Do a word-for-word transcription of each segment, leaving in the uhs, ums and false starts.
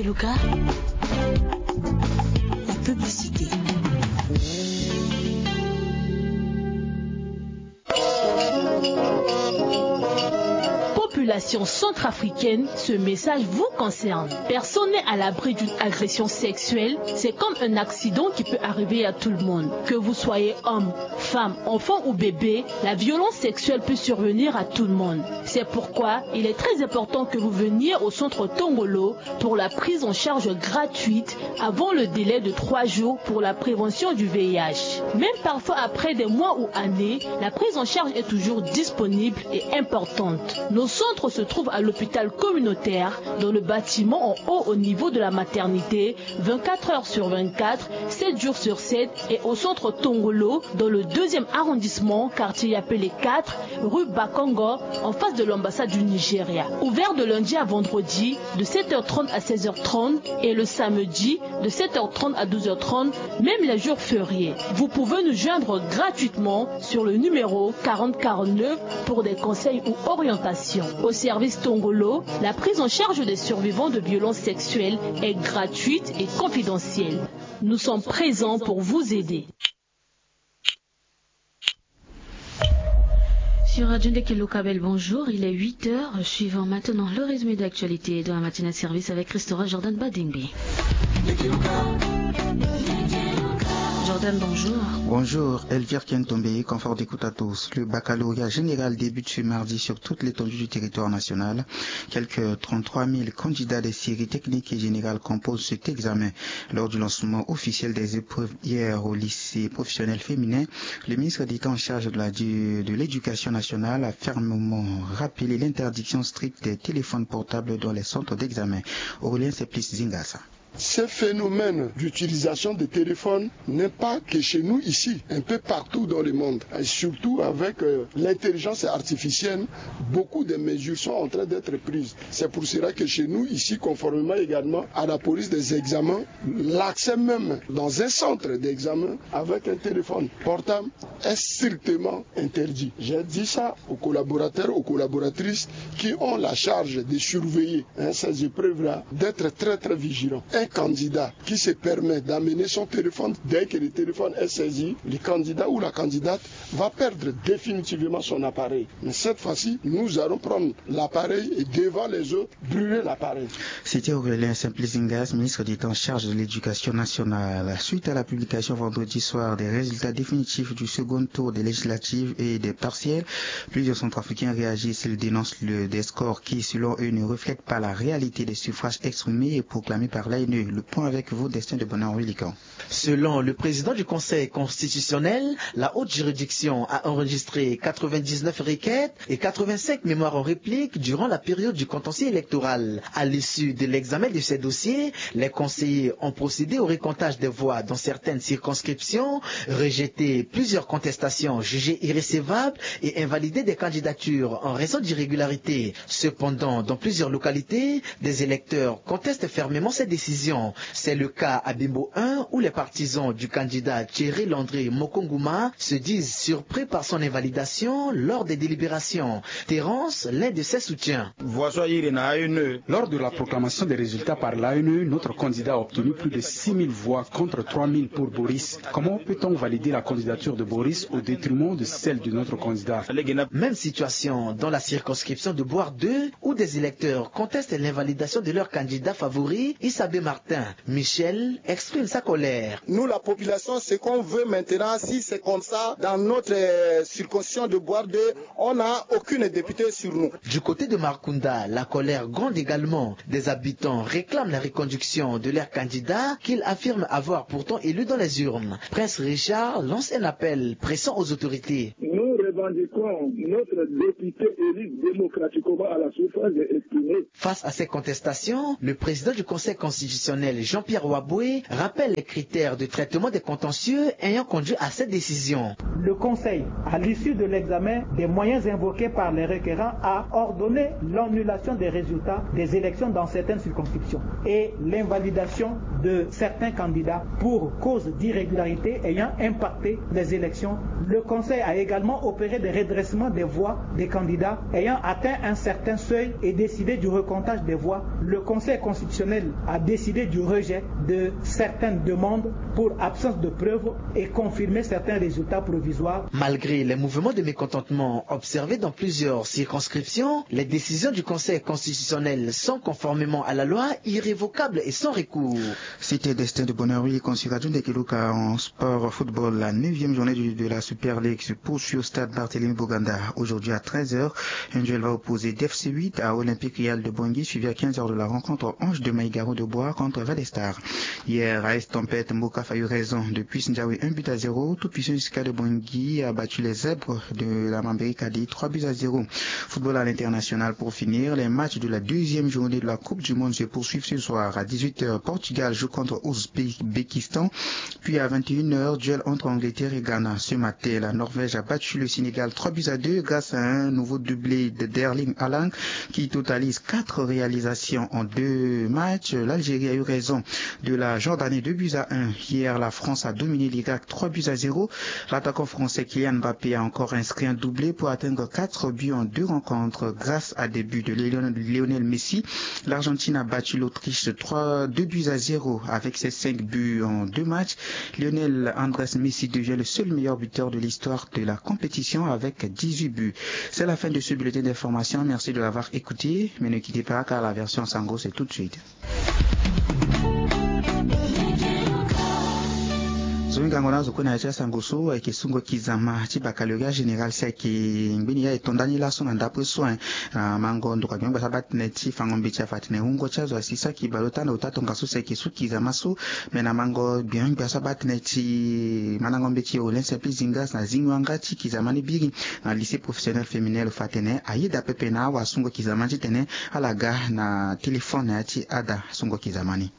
Lucas, la publicité. Population centrafricaine, ce message vous concerne. Personne n'est à l'abri d'une agression sexuelle. C'est comme un accident qui peut arriver à tout le monde. Que vous soyez homme, femme, enfant ou bébé, la violence sexuelle peut survenir à tout le monde. C'est pourquoi il est très important que vous veniez au centre Tongolo pour la prise en charge gratuite avant le délai de trois jours pour la prévention du V I H. Même parfois après des mois ou années, la prise en charge est toujours disponible et importante. Nos centres se trouvent à l'hôpital communautaire, dans le bâtiment en haut au niveau de la maternité, vingt-quatre heures sur vingt-quatre, sept jours sur sept, et au centre Tongolo, dans le deuxième arrondissement, quartier Yapele quatre, rue Bakongo, en face de l'ambassade du Nigeria. Ouvert de lundi à vendredi, de sept heures trente à seize heures trente, et le samedi, de sept heures trente à douze heures trente, même les jours fériés. Vous pouvez nous joindre gratuitement sur le numéro quarante quarante-neuf pour des conseils ou orientations. Au service Tongolo, la prise en charge des survivants de violences sexuelles est gratuite et confidentielle. Nous sommes présents pour vous aider. Sur Radio Ndeke Lokabel, bonjour, il est huit heures. Suivons maintenant le résumé d'actualité dans la matinée de service avec Christora Jordan Badingbe. Jordan, bonjour. Bonjour, Elvire Kentombe, confort d'écoute à tous. Le baccalauréat général débute ce mardi sur toute l'étendue du territoire national. Quelques trente-trois mille candidats des séries techniques et générales composent cet examen. Lors du lancement officiel des épreuves hier au lycée professionnel féminin, le ministre d'État en charge de la, de l'éducation nationale a fermement rappelé l'interdiction stricte des téléphones portables dans les centres d'examen. Aurélien Simplice Zingasa. Ce phénomène d'utilisation des téléphones n'est pas que chez nous ici, un peu partout dans le monde. Et surtout avec, euh, l'intelligence artificielle, beaucoup de mesures sont en train d'être prises. C'est pour cela que chez nous ici, conformément également à la police des examens, l'accès même dans un centre d'examen avec un téléphone portable est strictement interdit. J'ai dit ça aux collaborateurs, aux collaboratrices qui ont la charge de surveiller, hein, ces épreuves-là, d'être très, très vigilants. Un candidat qui se permet d'amener son téléphone, dès que le téléphone est saisi, le candidat ou la candidate va perdre définitivement son appareil. Mais cette fois-ci, nous allons prendre l'appareil et devant les autres, brûler l'appareil. C'était Aurélien Simplice Zingasa, ministre d'État en charge de l'éducation nationale. Suite à la publication vendredi soir des résultats définitifs du second tour des législatives et des partielles, plusieurs centrafricains réagissent. Ils dénoncent le, des scores qui, selon eux, ne reflètent pas la réalité des suffrages exprimés et proclamés par l'A N E. Le point avec vous, Destin de Bonheur Willican. Selon le président du Conseil constitutionnel, la haute juridiction a enregistré quatre-vingt-dix-neuf requêtes et quatre-vingt-cinq mémoires en réplique durant la période du contentieux électoral. À l'issue de l'examen de ces dossiers, les conseillers ont procédé au recomptage des voix dans certaines circonscriptions, rejeté plusieurs contestations jugées irrecevables et invalidé des candidatures en raison d'irrégularités. Cependant, dans plusieurs localités, des électeurs contestent fermement ces décisions. C'est le cas à Bimbo un, où les partisans du candidat Thierry Landry Mokonguma se disent surpris par son invalidation lors des délibérations. Terence, l'un de ses soutiens. Lors de la proclamation des résultats par l'A N E, notre candidat a obtenu plus de six mille voix contre trois mille pour Boris. Comment peut-on valider la candidature de Boris au détriment de celle de notre candidat ? Même situation dans la circonscription de Bouar deux, où des électeurs contestent l'invalidation de leur candidat favori, Issa B. Martin. Michel exprime sa colère. Nous, la population, ce qu'on veut maintenant, si c'est comme ça, dans notre, euh, circonscription de Bouar deux, on n'a aucune députée sur nous. Du côté de Markunda, la colère gronde également. Des habitants réclament la reconduction de leur candidat qu'ils affirment avoir pourtant élu dans les urnes. Prince Richard lance un appel pressant aux autorités. Nous revendiquons notre député élu démocratiquement à la suffrage exprimé. Face à ces contestations, le président du Conseil constitutionnel, Jean-Pierre Waboué, rappelle les critères de traitement des contentieux ayant conduit à cette décision. Le Conseil, à l'issue de l'examen des moyens invoqués par les requérants, a ordonné l'annulation des résultats des élections dans certaines circonscriptions et l'invalidation de certains candidats pour cause d'irrégularité ayant impacté les élections. Le Conseil a également opéré De redressement des voix des candidats ayant atteint un certain seuil et décidé du recomptage des voix, le Conseil constitutionnel a décidé du rejet de certaines demandes pour absence de preuves et confirmer certains résultats provisoires. Malgré les mouvements de mécontentement observés dans plusieurs circonscriptions, les décisions du Conseil constitutionnel sont, conformément à la loi, irrévocables et sans recours. C'était Destin de Bonheur, oui, considéré de Kiluka en sport football. La neuvième journée du- de la Super League se poursuit au stade Barthélémy Boganda. Aujourd'hui à treize heures, un duel va opposer D F C huit à Olympique Real de Bangui, suivi à quinze heures de la rencontre Ange de Maïgaro de Bois contre Valestar. Hier, A S Tempête Mboka a eu raison de Puce Ndiawe, un but à zéro. Tout puissant Jusca de Bangui a battu les Zèbres de la Mambéry Kadi, trois buts à zéro. Football à l'international pour finir. Les matchs de la deuxième journée de la Coupe du Monde se poursuivent ce soir. À dix-huit heures, Portugal joue contre Ouzbékistan. Puis à vingt et une heures, duel entre Angleterre et Ghana. Ce matin, la Norvège a battu le Sénégal trois buts à deux grâce à un nouveau doublé de d'Erling Haaland qui totalise quatre réalisations en deux matchs. L'Algérie a eu raison de la Jordanie, deux buts à un. Hier, la France a dominé l'Irak, trois buts à zéro. L'attaquant français Kylian Mbappé a encore inscrit un doublé pour atteindre quatre buts en deux rencontres grâce à des buts de Lionel Lionel Messi. L'Argentine a battu l'Autriche trois, deux buts à zéro avec ses cinq buts en deux matchs. Lionel Andrés Messi devient le seul meilleur buteur de l'histoire de la compétition avec dix-huit buts. C'est la fin de ce bulletin d'information. Merci de l'avoir écouté, mais ne quittez pas car la version Sango, c'est tout de suite. Zo hingango na azo kue na ya ti asango so ayeke sungo kizama ti baccalauréat général si ayeke ngbeni ya e to ndani laso na ndapre so. Na mango ndokua gbengba so abaa tënë ti fango mbeti afa atene wungo ti azo asi saki baleota na ota tongaso si ayeke su kizama so. Me na mango gbengba so abaa tënë ti mandango mbeti Aurélien Simplice Zingas na zingo yanga ti kizama ni biri na lycée professionnel féminin lo fa atene ayeda pepe na awasungo kizama ni titene ala ga na téléphone na ya ti ada sungo kizama ni.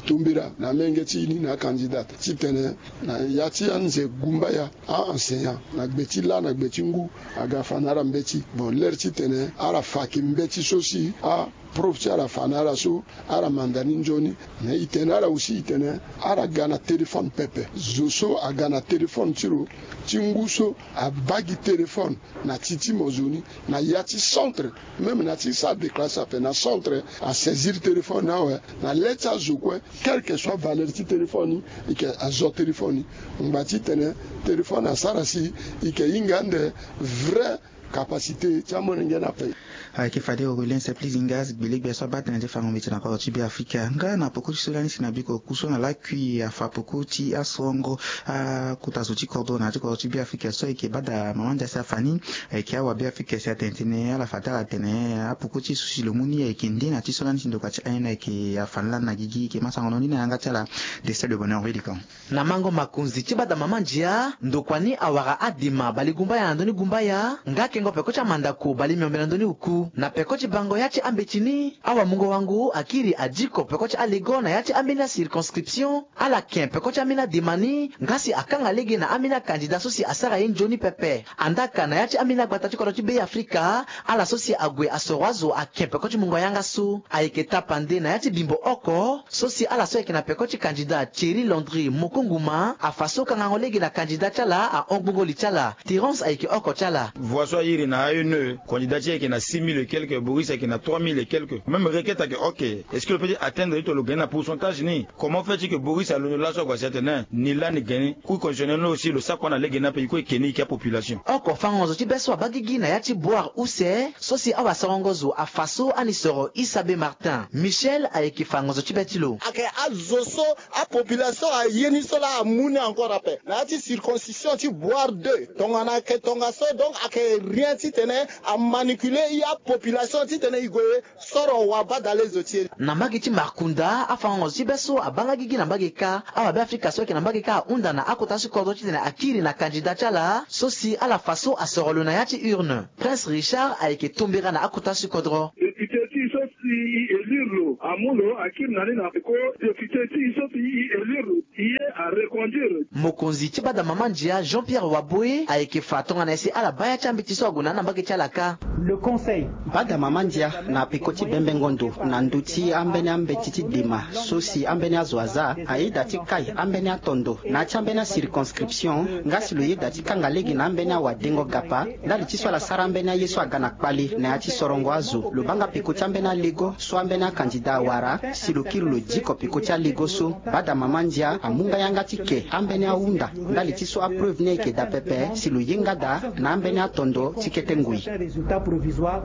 Tombera na menge ti e ni na acandidat titene na ya ti anze gumbaya a-enseignant na gbe ti lâ na gbe ti ngu aga fa na ala mbeti. Bon, lere titene ala fa yeke mbeti so si aprof ti ala fa na ala so ala manda ni nzoni. Me e tene na ala aussi e tene ala ga na téléphone pepe. Zo so aga na téléphone ti lo ti ngu so abaa gi téléphone na ti ti mo zo ni na ya ti centre, même na ti salle de classe ape na centre asaisir téléphone ni awe. Na le ti azo kue, quelque soit valeur ti téléphone ni, e yeke azo téléphone ni. Ngba titene téléphone asara si e yeke hinga ande vrai capacité ti amolenge ni ape. Ayeke fade Aurélien Simplice Zingas gbelegbe so abaa tënë ti fango mbeti na kodro ti Beafrika. Nga na poko ti so lani si na biko oku so na lakui afa poko ti asorongo akota zo ti kodro na ya ti kodro ti Beafrika so ayeke bada mama ndia si afa ni. Ayeke awabeafrika si atene tënë ala fa ti ala tene apoko ti e so si lo mu ni ayeke nde na ti so lani si ndokua ti ayen ayeke afa ni lani na gigi. Ayeke ma sango na ni na yanga ti ala. Destin de Bonheur Vilikan. Na mango makonzi ti bada mama ndia, ndokua ni awara adema balegumbaya na ndö ni gumbaya nga kengo peko ti amandako balemiombe na ndö ni oku. Na peko ti bango ya ti ambeti ni, awamungo wango akiri adiko peko ti alego na ya ti ambeni acirconscription. Ala ken peko ti ambeni adema ni nga si akanga lege na ambeni acandidat so si asara ye nzoni pepe. Andaka na ya ti ambeni agbata ti kodro ti Beafrika, ala so si ague asoro azo aken peko ti mungo yanga so. Ayeke tapande na ya ti bimbo oko so si ala so ayeke na peko ti candidat Thierry Landry Mokonguma afa so kangango lege na candidat ti ala ahon gbongo li ti ala. Terence ayeke oko ti ala. Voix so a iri na A N E, candidat ti e ayeke na six mille et quelques, Boris ayeke na trois mille et quelques. Même requête ayeke ok. Est-ce que lo peut ti atteindre ti tongana lo gagner na pourcentage ni? Comment fait ti que Boris alondo laso ague asi atene ni lani gagner? Cour constitutionnel ni aussi lo sara kua na lege ni ape, e kue e ke ni e ke apopulation. Oko fango zo ti be so abaa gigi na ya ti boire use so si awasorongo zo afa so ani soro Isabe Martin. Michel ayeke fango zo ti be ti lo. Ayeke azo so apopulation aye ni so laa amu ni encore ape na ya ti circoncision ti boire deux. Tongana ayeke tongaso, donc ayeke rien titene amanipuler e apopulation titene e gue soro wabadale zo ti e. Na mbage ti Markunda, afango zo ti be so abaa nga gigi na mbage kâ. Awabeafrika so ayeke na mbage kâ ahunda na akota ti kodro titene akiri na candidat ti ala so si ala fa so asoro lo na ya ti urne. Prince Richard ayeke tombera na akota ti kodro. Député ti e so si e élire lo, Amu lo akiri na ni na peko député ti e so si e élire lo, e ye areconduire. Mokonzi ti bada mama ndia Jean Pierre Waboe ayeke fa tongana nyen si ala baa ya ti ambeti so ague na ni na mbage ti ala kâ. Le conseil. Bada mama ndia na peko ti bembengo ndo na ndö ti ambeni ambeti ti dema so si ambeni azo aza, ayeda ti kai ambeni atondo na ya ti ambeni acirconscription, nga si lo yeda ti kanga lege na ambeni awadengo gapa ndali ti so ala sara ambeni aye so aga na kpale na ya ti sorongo azo. Lo baa nga peko ti ambeni alego so ambeni akandida awara si lo kiri lo diko peko ti alego so. Bada mama ndia amu nga yanga ti ke ambeni ahunda ndali ti so apreuve ni ayeke daa pepe si lo ye nga daa na ambeni atondo ti kete ngoi.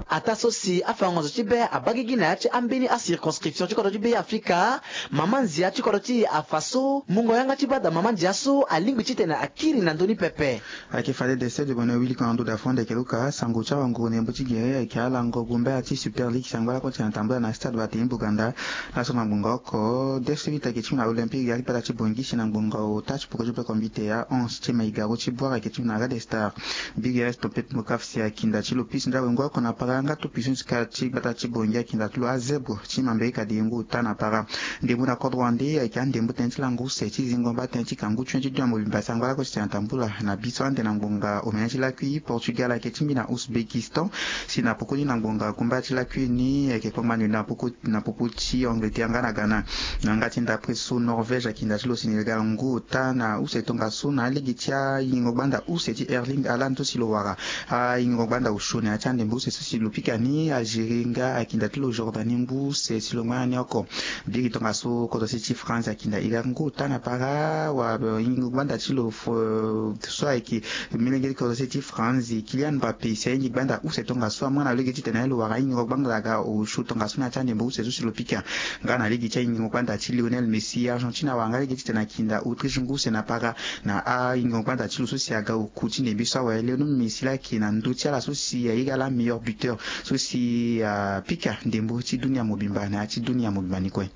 Ataa so si afango-nganzo ti be abaa gigi na ya ti ambeni acirconscription ti kodro ti Be Afrika, mama ndia ti kodro ti e afa so mungo yanga ti bada mama ndia so alingbi titene akiri na ndö ni pepe. Ayeke fade de sede bone wili ko na ndo da fonde ayeke luka sango ti awanguru na yembo ti gere ayeke ala ngo gumbaya ti Super League si angba lakue ti tene tambula na stade Barthélemy Boganda. Laso na ngbonga oko, District ayeke ti mu na Olympique ya ti gbata ti Bangui si na ngbonga ota ti poko ti peko mbi te ya onze ti Maigaro ti Bouar ayeke ti mu na Red Star. Big Rest Topet Mokaf si akinda ti lo pisi nda wengo oko na para nga to pisi ti ka ti gbata ti Bangui akinda ti lo azebro ti mamberi ka de yengo ota na para. Ndembo na kodro wande ayeke andembo tënë ti lango use ti zingo mba tënë ti kangu tuen ti dunia mobimba si angba lakue ti tene tambula na biso ande na ngbonga omene ti lakui. Portugal ayeke ti mbi na Ouzbékistan si na poko ni na ngbonga gumba ti lakui ni ayeke kpangba ndio na poko na popo ti Angleterre nga na Ghana. Na yanga ti ndapre so Norvège akinda ti lo Sénégal ngu ota na use tongaso na alege ti ayingo gbanda use ti Erling Haaland so si lo wara ayingo gbanda osio na ya ti andembo use so si lo pika ni. Algérie nga akinda ti lo Jordanie ngu use si lo ngba na ni oko. Biri tongaso kodro se ti France akinda Irak ngu ota na para wa yingo gbanda ti lo so ayeke Milenge ti kodro se ti France Kylian Mbappé si ahingi gbanda use tongaso amu na lege titene aye lo wara ahingo gbanda aga osio tongaso na ya ti andembo use so si lo pika. Nga na lege ti ahingo gbanda ti Lionel Messi Argentine awara nga lege titene akinda Autriche ngu use na para na ahingo gbanda ti lo so si aga oku ti ndembe so awe Lionel Messi laa ayeke na ndö ti ala so si aye ga ala meilleur buteur so si apika ndembo ti dunia mobimba na ya ti dunia mobimba ni kue.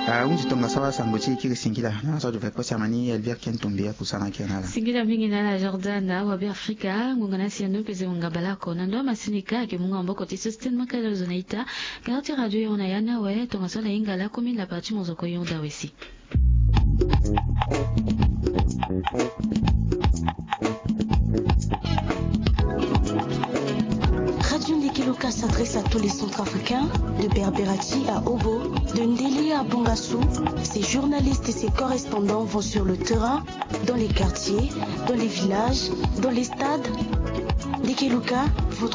Ahunzi tongaso asango ti e kiri singila na so adu fekpesi amani Elvire Ken Tombe akusana kiri na ala. Singila mingi na ala Jordan awa Be Afrika ngonga na si ando pese ngonga baleoko na ndo amasini ka ayeke mu nga maboko ti Sostène Makala zo na ita. Kara ti radio yoro na ya ni awe tongaso ala hinga laa komi na parti mozoko yoro da wesi. Radio Ndeke Luka s'adresse à tous les Centrafricains, de Berberati à Obo, de Ndele à Bongassou. Ses journalistes et ses correspondants vont sur le terrain, dans les quartiers, dans les villages, dans les stades. Ndeke Luka, votre